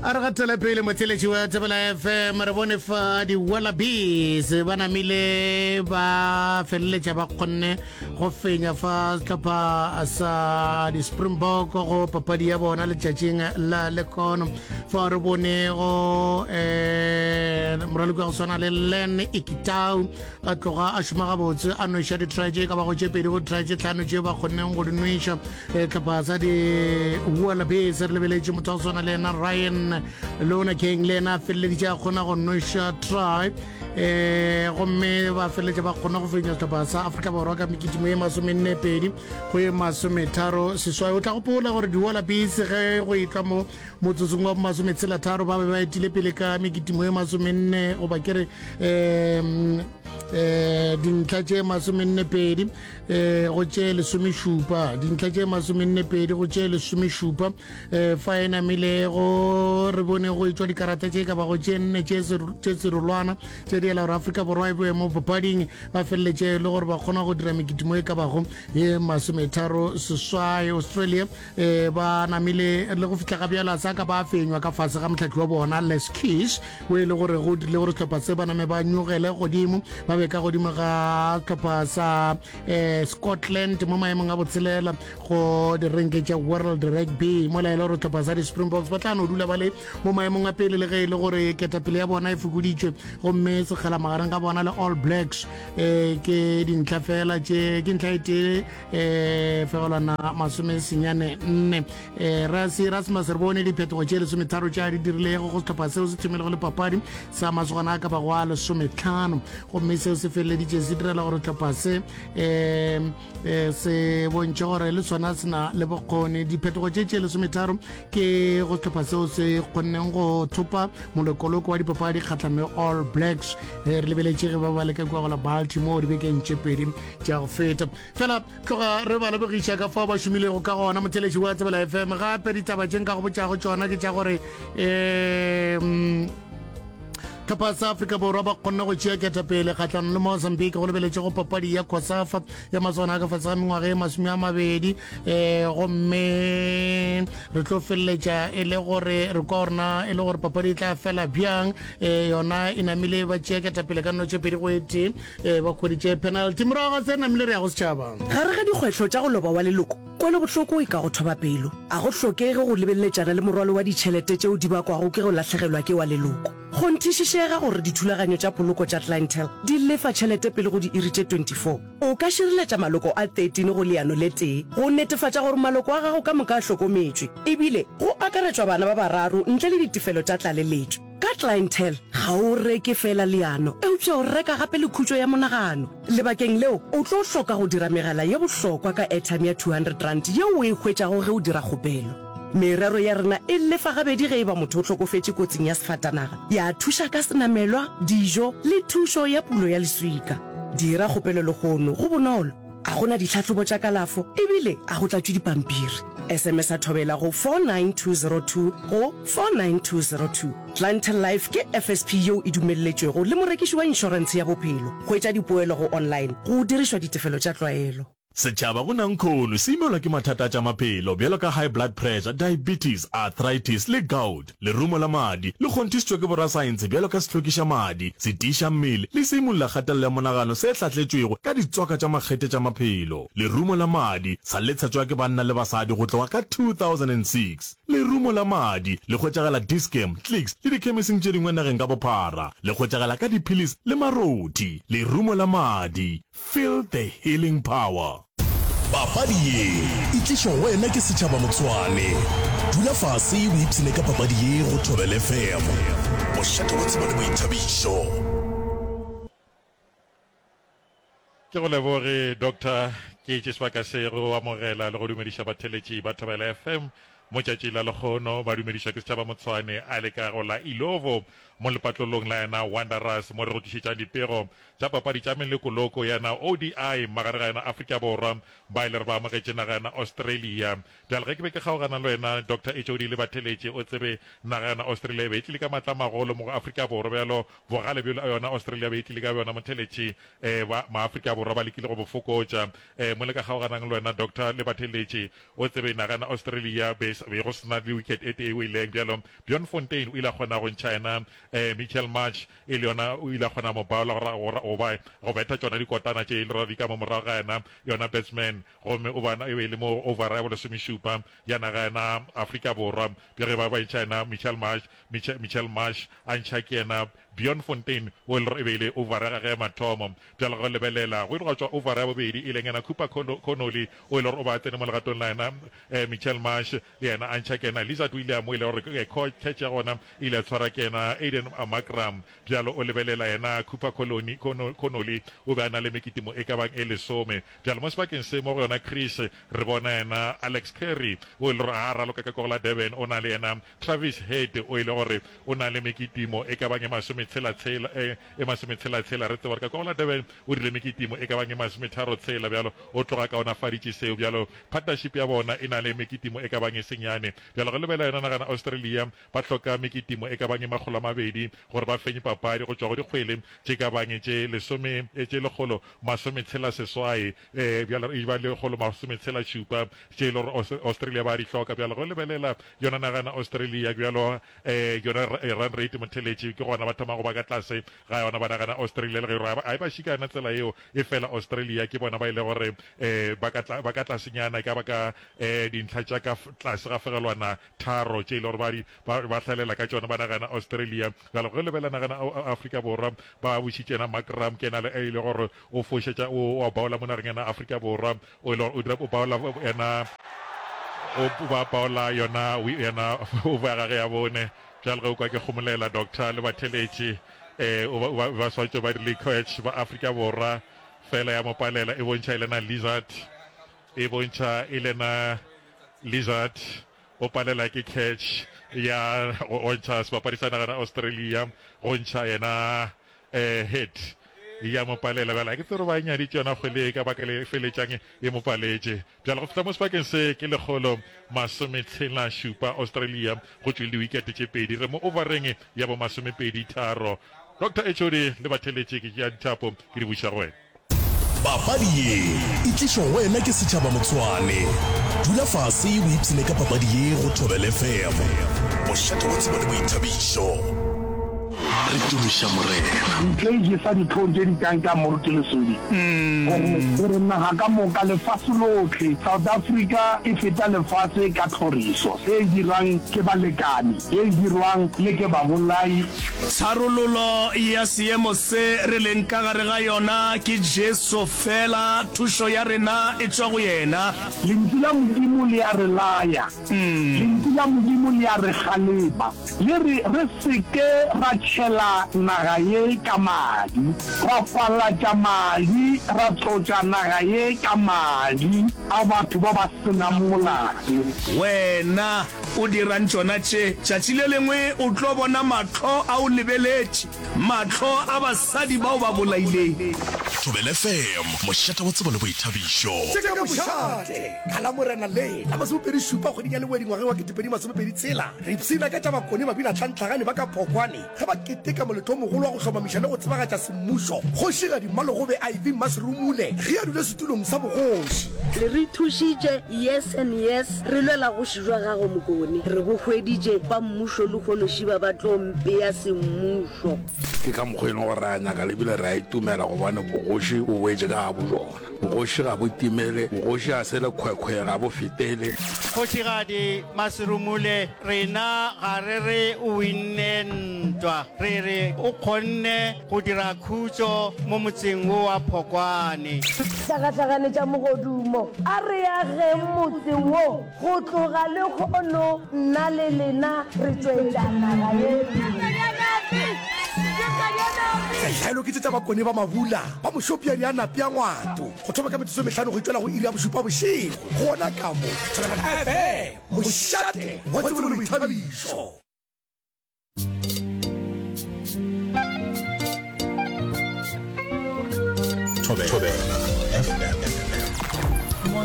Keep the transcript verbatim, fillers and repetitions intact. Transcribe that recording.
A re gatele pele, motheletši wa Thobela F M. Re bone fa di-Wallabies ba namile ba feleletša ba kgonne go fenya fa sehlopha sa di-Springbok go papadi ya bona letšatšing la lekono. Fa re bone go um moraloki wa go swana le Len Ikitau a tloga a šoma gabotse, a nweša di-try tše ka bago tše pedi go try tše tlhano tše ba kgonneng go di nweša um tlhopha sa di-Wallabies. Re lebeletše motho wa go swana le ena Ryan Lonergan, le ena a feleleditše a kgona go nweša try um gomme ba feleletša ba kgona go fenya sehlopha sa Afrika Borwa ka mekitimo ye masomenne pedi go ye masometharo seswai. O tla gopola gore di-Wallabies ge go etla mo motsotsong wa masometshela tharo ba be ba etile pele ka mekitimo ye masomenne, goba ke re um um dintlha tše masomenne pedi um go tše lesomešupa, dintlha tše masomenne pedi go tše lesomešupa. um fa e namile go re bone go etswa dikarata tše ka bago tše nne tše serolwana tše di ela gore Afrika Borwa e boe mo papading. Ba feleletše le gore ba kgona go dira mekitimo e ka bago ye masometharo seswai. Australia um ba namile le go fihla ga bjala sa ka ba fenywa ka fase ga motlhatli wa bona Les Kiss, o e le gore go dirile gore sehlopha se ba name ba nyogele godimo, ba be ka godimo ga sehlopha sa um Scotland mo maemong a botshelela go direnke tša World Rugby, mola e le gore sehlopha sa di-Springboks ba tla no dula ba le mo maemong a pele, le ge e le gore ketapele ya bona e fokoditšwe, gomme sekgala magareng ga bona le All Blacks um ke dintlha fela tše, ke ntlha e tee um fegelwana masome senyane nne. um rasi Rasmus, re bone diphetogo tše lesometharo tša di dirilego go sehlopha seo se thomilego le papadi sa masogana a ka bago a lesometlhano, gomme seo se feleleditše se direla gore sehlopha se um se bontšhe gore le sona se na le bokgoni. Diphetogo tše tše lesometharo ke go sehlopha seo se kgonneng go thopa molokoloko wa dipapadi kgatlhanong le All Blacks. Re lebeletše ge ba ba leka kua go la Baltimore dibekeng tše pedi tša go feta. Fela tloga re ba lebogiša ka fao ba šomilego ka gona, motheletši wa Thobela F M. Gape ditaba tše nka go botšago tšona ke tša gore um tlhopha sa Afrika Borwa ba kgonne go tšea ketapele kgatlhanong le Mozambique go lebeletše go papadi ya COSAFA ya maswana a ka fase ga mengwaga e masome a mabedi, um gomme re tlo feleletša e le gore re kwa gorena e le gore papadi e tla fela bjang. um yona e namile ba tšea ketapele ka nno tše pedi go e tee, um ba kgweditše penalty. Morago ga se namile re ya go setšhaba. Gare ga dikgwetlho tša go loba wa leloko, kwelobohloko e ka go thoba pelo. A go hlokege go lebeleletšana le morwalo wa ditšhelete tšeo di bakwago ke go lahlegelwa ke wa leloko. Kgonthišišega gore dithulaganyo tša poloko tša Clientele di lefa tšhelete pele go diiri tše twenty-four. O ka šireletša maloko a thirteen go leano le tee go netefatša gore maloko a gago ka moka a hlokometšwe, ebile go akaretšwa bana ba bararo ntle le ditefelo tša tlaleletšo. Ka Clientele, ga o reke feela leano, eupša o reka gape le khutšo ya monagano. Lebakeng leo, o tlo hloka go dira megala ye bohlokwa ka airtime ya two hundred rand yeo o e hwetšago ge o dira kgopelo. Merero ya rena e lefa gabedi ge e ba motho o hlokofetše kotsing ya sefatanaga, ya thuša ka senamelwa, dijo le thušo ya pulo ya leswika. Dira kgopelo lehono, go bonolo, a go na ditlhahlobo tša kalafo ebile a go tlatšwe dipampiri. S M S a Thobela go four nine two zero two go four nine two zero two. Clientele Life ke F S P yeo e dumelletšwego le morekiši wa inšorentshe ya bophelo. Hwetša dipoelo go online go dirišwa ditefelo tša tlwaelo. Setšhaba go nankhono se imelwa ke mathata a tša maphelo bjalo ka high blood pressure, diabetes, arthritis le gout. Lerumo la madi le kgonthišitšwe ke borasaense bjalo ka sehlwekiša madi, se tiiša mmele le se imulla kgatelelo ya monagano se hlahletšwego ka ditswaka tša makgethe tša maphelo. Lerumo la madi sa le tshetšwa ke banna le basadi go tloga ka two thousand and six. Lerumo la madi le hwetšagala Dis-Chem, Clicks le dikhemising tše dingwe nageng ka bophara. Le hwetšagala ka diphilisi le marothi. Lerumo la madi. Feel the healing power. Papadi ye e tlišwa go wena ke setšhaba Motshwane. Dula fase o ipshine ka papadi ye go Thobela F M, mošate wa tsebo le boithabišo. Ke go leboge, Doctor. Ke tše sebaka se go amogela le go dumediša batheletši ba Thobela F M mo tšatši la lekgono. Ba dumedišwa ke setšhaba Motshwane a le ka go la Ilovo mo lepatlelong la yena Wanderers mo re go tlišetšang dipego tša papadi tša melekoloko ya O D I magareng ga yena Afrika Borwa ba ile re ba amogetše naga yena Australia. Bjale ge ke be ke kgaogana le wena Doctor H O D le batheletše o tsebe naga yena Australia e be e tlile ka matla magolo mo go Afrika Borwa bjalo bogale bjolo a yona Australia be e tlile ka bjona motheletše eh ba maAfrika Borwa ba lekile go bo fokotša eh mo le ka kgaoganang le wena Doctor le batheletše o tsebe naga yena Australia be be go sena le wicket e tee e weleng bjalo Bjorn Fontaine o ile a kgona go ntšha yena eh Mitchell Marsh e le yona o ile a kgona mo baola gore go ba go betha tšona dikotana tše e le gore di ka mo morago ga yena yona batsman gomme o bana e be e le mo over ya bolesomešupa ya naga yena Afrika Borwa bja ge ba ba ntšha yena Mitchell Marsh Mitchell, Mitchell Marsh a ntšha ke yena Bjorn Fontaine o e le gore e be e le over ya gagwe ya mathomo bjalo go lebelela go ile gwa tšwa over ya bobedi e leng yena Cooper Connolly o e le gore o ba tsene mo legatong la yena eh, Mitchell Marsh le yena a ntšha ke yena Lizard William o e le gore eh, catch ya gona e ile ya tshwara ke yena Aiden Markram bjalo o lebelela yena Cooper Connolly, Connolly o be a na le mekitimo e ka bang e lesome bjalo mo sebakeng se mo go yona Chris re bona yena Alex Carey o e le gore a raloka ka kogo la Durban o na le yena Travis Head o e le gore o na le mekitimo e ka bang e masometshela-tshela e, e masometshela-tshela re tseba gore ka kogo la Durban o rile mekitimo e ka bang e masometharo-tshela bjalo o tloga kaonafaditše seo bjalo partnership ya bona e na le mekitimo e ka bang e senyane bjalo go lebela yona nagana Australia ba hloka mekitimo e ka bang e makgolo a mabedi gore ba fenye papadi go tšwa go dikgwele tše ka bang tše lesome tše lekgolo masometshela seswai eh bjalo e ba lekgolo masometshela šupa tše e le gore Australia ba di hloka bjalo go lebelela yona nagana Australia bjalo eh yona run rate motheletše ke gona ba thoma go ba ka tlase ga yona ba nagana Australia le ge a e ba šika yona tsela yeo e fela Australia ke bona ba ile gore eh ba ka ba ka tlasenyana e ka ba ka eh dintlha tša ka tlase ga fegelwana tharo tše e le gore ba di ba ba hlalela ka tšona ba nagana Australia bjalo ge lebela nagana Afrika Borwa ba bušitše yena Markram ke yena le e le gore o fošetša o o baola mo nageng yena Afrika Borwa o ile gore o dira o baola yena o ba baola yona yena o ba gage ya bone bjalo ge o kwa ke kgomolela doctor le batheletše eh o ba ba swantše ba dirile coach ba Afrika Borwa fela ya mo palela e bontšha e lena lizard e bontšha e lena lizard o palela ke catch ya go ntšha sebapadi sa nagana Australia go ntšha yena eh head ya mo palela bjale ke tsere ba nyaditše yona kgwele e ka baka le feletšang e mo paletše bjale go fihla mo sebakeng se ke lekgolo masometshela šupa Australia go tšwele diwikete tše pedi re mo overeng ya bo masomepedi tharo Doctor H O D le batheletše ke tšea dithapo ke di buša go wena. Papadi ye e tlišwa go wena ke setšhaba Motshwane. Dula fase o ipshine ka papadi ye go Thobela F M. Mošate wa tsebo le boithabišo. Re tumiša Morena. Ntle jesa dihlong tše di kang ka Moruti Lesodi, gore, gore naga ka moka, lefase lohle, South Africa e feta lefase ka tlhoriso e dirwang ke balekane, e dirwang le ke babolai. Tharollo ya seemo se re leng ka gare ga yona ke Jesu fela, thušo ya rena e tšwa go yena. Lentšu la Modimo le a re laya. Lentšu la Modimo le a re kgalema. Le re re se ke ra tšhela naga ye ka madi, ra falatša madi, ra tlotša naga ye ka madi a batho ba ba se nang molato. Wena o dirang tšona tše? Tšatši le lengwe o tlo bona mahlo a o lebeletše, mahlo a basadi bao ba bolaileng. Thobela F M, mošate wa tsebo le boithabišo. Tše ka mošate ka la Morena le la masomepedi šupa kgweding ya Lewedi ngwageng wa ketepedi masomepedi tshela, re ipshina ka tša Bakone babinatlhantlhagane ba ka Phokwane ge ba keteka moletlo o mogolo wa go hlomamiša le go tsebagatša semmušo Kgošigadi Mmalogobe Ivy Mmaserumule ge a dula setulong sa bogoši. Le re thušitše, yes and yes, re lwela go šijwa gago Mokone. Re bo hweditše, ba mmušo lehono šiba ba tlo mpea semmušo. Ke ka mokgwa e leng gore re a nyaka le bile re a itumela gobane bogoši bo boetše ka gabo bjona. Bogoši ga bo timele, bogoši ga se lekhwekhwe, ga bo fetele. Kgošigadi Maserumule, rena ga re re o winne ntwa, re re o kgonne go dira khutšo mo motseng wo wa Phokwane. Hlakahlakane tša mogodumo, a re ageng motse wo go tloga lehono, nna le lena re tšwetša naga ye pele. Tlhaelo ke tše tša Bakone ba Mabula ba Mošopja di a napja ngwato go thoma ka metsotso e mehlano go itšwela go iri ya bošupa bošego gona ka mo Thobela F M, mošate wa tsebo le boithabišo. Thobela.